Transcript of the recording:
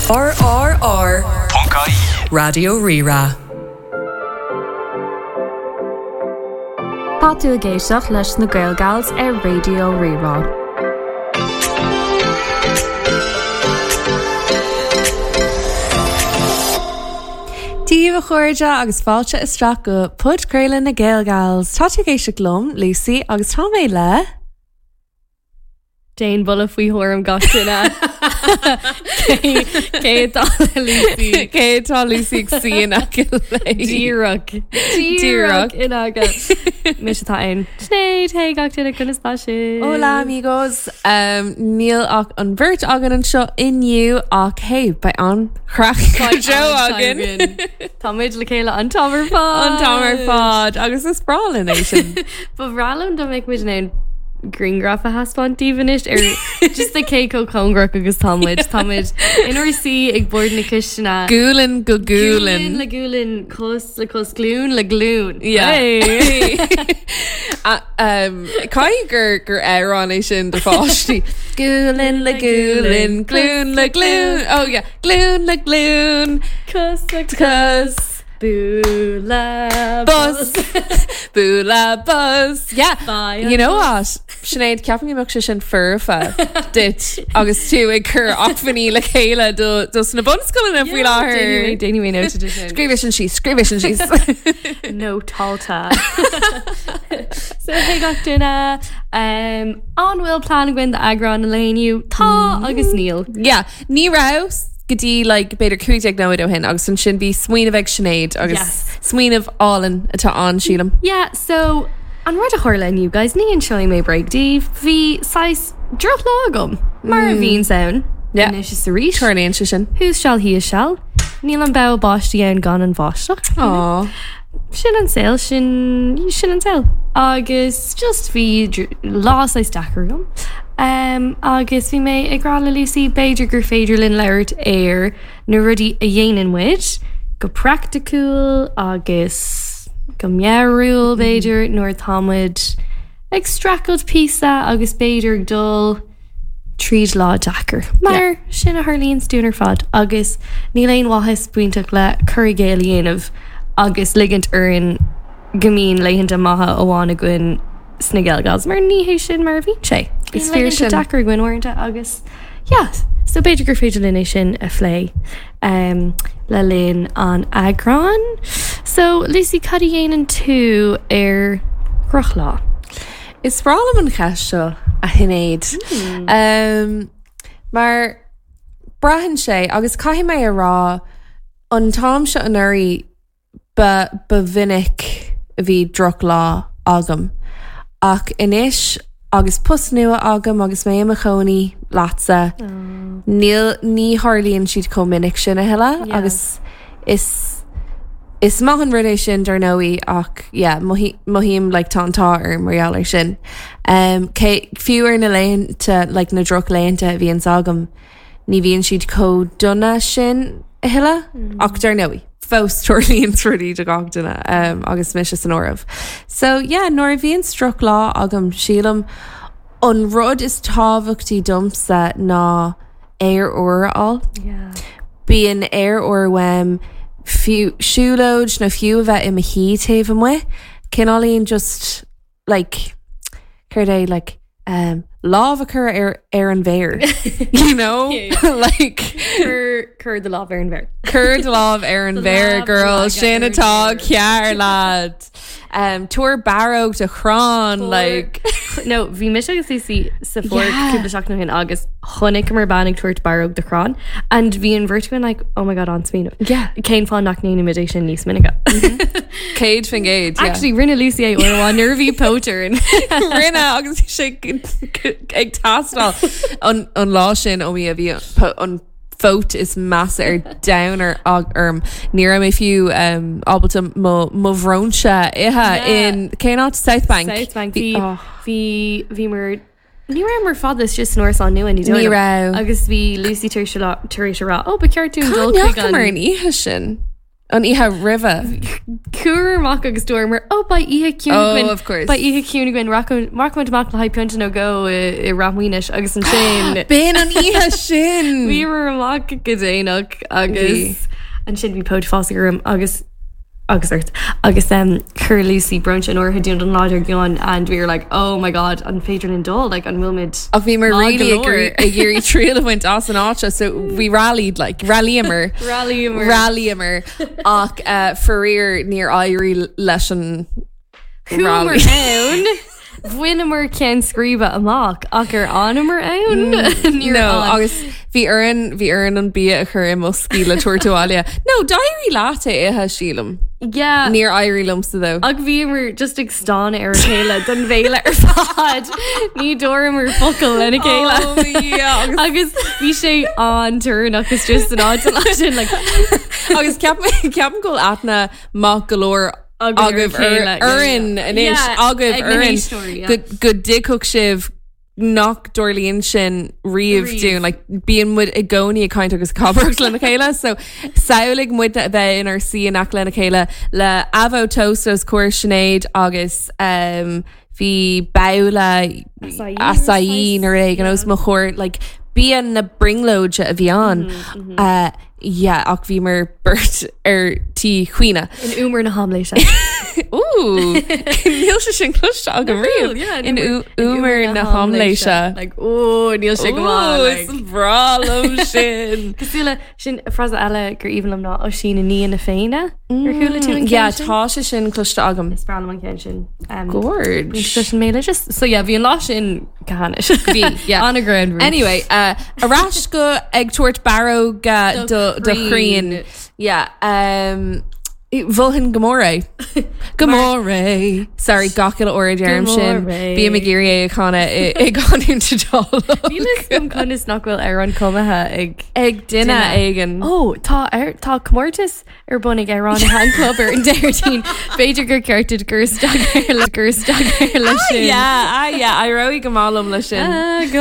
RRR. Ponc IE. Raidió Rí-Rá. Tá tú ag éisteacht leis na Gaelgals ar Raidió Rí-Rá. Dia daoibh a chairde agus fáilte isteach go podchraoladh na Gaelgals. Tá tú ag éisteacht liom, Lucy, agus tá mé le. Déan buille faoi thuairim gach duine. Cé atá le Lucy? Cé atá Lucy ag suí in aice léi? Díreach. Díreach in aice. Mise atá ann. Sinéad, hey gach duine, conas tá sibh? Hola amigos. Um, níl ach an bheirt againn anseo inniu ach hey, beidh an-chraic go deo againn. Tá muid le chéile an t-am ar fad. An t-am ar fad agus is breá linn é sin. Ba bhreá liom dá mbeadh muid in ann grianghraf a thaispeáint daoibh anois ar just de cé chomh cóngarach agus tá muid. Tá muid inár suí ag bord na cistine. Gualainn go gualainn. Gualainn le gualainn, cos le cos, glúin le glúin. Yeah. Hey! Um, Caithfidh gur gur amhrán é sin do pháistí. Gualainn le gualainn, glúin le glúin. Oh yeah. Glúin le glúin. Cos le cos. Bualadh bos. Bualadh bos. Yeah. Bye. You know what? Sinéad, ceapaim go mbeadh sé sin foirfe duit agus tú ag cur acmhainní le chéile do dos na bunscoileanna faoi láthair. Déanfaidh mé nóta de sin. Scríobh sin síos, scríobh sin síos. Nótálta. So hey gach duine, um, an bhfuil plean againn d'eagrán an lae inniu? Tá agus níl. Yeah, ní raibh go dtí like, b'fhéidir 15 nóiméad ó shin agus ansin bhí smaoineamh ag Sinéad agus Yes. smaoineamh álainn atá ann sílim. Yeah, so an rud a tharla inniu guys, ní inseoidh mé bréag daoibh, bhí saghas drochlá agam, mar a bhíonns ann Yeah. anois is arís. Tarlaíonn sé sin. Thuas seal thíos seal. Níl an bogha báistí ann gan an bháisteach. Aww. Sin an saol, sin, sin an saol. Agus just bhí lá saghas deacair agam. Um, agus bhí mé ag rá le Lucy b'fhéidir gur féidir linn labhairt ar na rudaí a dhéanann muid go praiticiúil agus go meabhrúil b'fhéidir nuair atá muid ag streachailt píosa agus b'fhéidir ag dul tríd lá deacair. Mar sin a tharlaíonns dúinn ar fad agus níl aon mhaitheas bainteach le cur i gcéill a dhéanamh agus ligint orainn go mbíonn laethanta maithe amháin againn sna Gaelgals mar ní hé sin mar a bhíonn sé. Is Bíonn fíor laethanta sin. deacair againn uaireanta agus yeah, so b'fhéidir gur féidir linn é sin a phlé um, le linn an eagráin. So Lucy, cad a dhéanann tú ar dhrochlá? Is breá liom an cheist seo, a Shinéad. Um, mar braitheann sé, agus caithfidh mé a rá, an t-am seo anuraidh ba, ba mhinic a bhí drochlá agam. Ach anois agus post nua agam agus mé i mo chónaí leatsa, níl, ní tharlaíonn siad chomh minic sin a thuilleadh Yeah. agus is is maith an rud é sin dar ndóigh ach yeah, mothaím like tá an t-ádh orm mar gheall air sin. Um, cé, fiú ar na laethanta like na drochlaethanta a bhíonns agam, ní bhíonn siad chomh dona sin a thuilleadh ach dar ndóigh fós tarlaíonn rudaí do gach duine um, agus mise san áireamh. So yeah, nuair a bhíonn drochlá agam sílim an rud is tábhachtaí domsa ná aer úr a fháil. Yeah. Bíonn aer úr uaim fiú siúlóid nó fiú a bheith i mo shuí taobh amuigh, cineáilín just like céard é like um, lámh a chur ar ar an bhféar you know like Cur cur do lámh ar an bhféar. Cur do lámh ar an Do bhféar lámh a girl leagadh sin ar an atá bhféar. cearr lad. Um, tabhair barróg do chrann like No, bhí mise agus Lucy sa pháirc Yeah. cúpla seachtain ó shin agus chonaiceamar bean ag tabhairt barróg do chrann and bhí an bheirt againn like oh my god an-smaoineamh. Yeah. Cén fáth nach ndéanaimid é sin níos minice? 100%. Yeah. Actually, rinne Lucy é uair amháin nuair a bhí póit orainn. Rinne agus bhí sé ag teastáil an an lá sin ó mí a bhí an phóit is measa ar domhan ar orm. Ní raibh mé fiú um, ábalta mo mo bhróinse a ithe in cén áit South Bank. South Bank. Bhí Bhí oh. bhí bhí mar Ní rabhamar fada istigh san árasán nua ní Ní dóigh liom. raibh. Agus bhí Lucy tar éis a rá tar éis a rá, "Ó, ba cheart dúinn dul chuig Cá ndeachamar an an oíche sin? An oíche roimhe. Chuamar amach agus dúramar, oh beidh oíche ciúin Oh, againn. of course. Beidh oíche ciúin againn, rachaimid amach le haghaidh pionta nó dhó i Rath Maoinis agus ansin. B'in an oíche sin! Bhíomar amach go déanach agus ansin bhí póit fásaigh orm agus agus ort agus um, chuir Lucy brunch in áirithe dúinn don lá dár gcionn and we were like oh my god an féidir linn dul like an bhfuil muid Ach bhíomar maith really go leor? ag iarraidh triail a bhaint as an áit seo so we rallied like rallyamar Rallyamar. rallyamar ach uh, faraor níor éirigh leis an Chuamar rally. ann Bhaineamar ceann scríbe amach ach ar fhanamar ann? Níor No, fhan. agus bhí orainn bhí orainn an bia a chur i mboscaí le tabhairt abhaile. No, d'éirigh leat é a ithe, sílim. Yeah. Níor éirigh liomsa though. Ach bhíomar just ag stánadh ar a chéile don bhéile ar fad. Ní dúramar focal lena chéile. Oh, yeah, agus- Agus bhí sé an-torann istigh san áit an lá sin like, Agus ceapaim ceapaim go bhfuil aithne maith go leor Agaibh agaibh ar a chéile, yeah, orainn yeah. anois, Yeah, agaibh ag na orainn héisteoirí, yeah. go go dtuigfeadh sibh nach dtarlaíonn sin riamh Riamh. dúinn, like, bíonn muid i gcónaí ag caint agus ag cabaireacht lena chéile, so samhlaigh muidne a bheith inár suí in aice lena chéile le avo toast os comhair Sinéad agus um, bhí babhla Acai acai nó rud éigin os mo chomhair, like, bia na brionglóide a bhí ann. Uh, Yeah, ach bhíomar beirt ar tí caoineadh. In umar na haimléise. Ooh, níl sé sin cloiste agam riamh. Yeah, In umar na haimléise. Like, oh, níl sé go maith. Ooh, like. is breá liom sin. Cosúil le sin frasa eile gur aoibhinn liom ná Oisín i ndiaidh na Féinne. Ar chuala tú an ceann Yeah, sin? tá sé sin cloiste agam. Is breá liom an ceann sin. Um, Gorge. Sin mé just so yeah, bhí an lá sin go hainnis. Bhí, yeah. An-ghreannmhar. Anyway, uh, ar ais go ag tabhairt barróga Do do do chríon. chríon. Yeah, um, Mholfainn go mór é. Go mór é. Sorry, gach uile uair a deirim Go sin. mór é. Bím ag iarraidh é a chanadh i i gcanúint Iodálach. Níl fhios agam conas nach bhfuil amhrán cumtha ag Ag duine Duine. éigin. Ó, tá ar tá comórtas ar bun ag Amhránaithe an Chlub ar an Déardaoin. B'fhéidir gur ceart duit cur isteach ar le cur isteach ar leis sin. Yeah, ah yeah, éireoidh go maith liom leis sin. Ah, go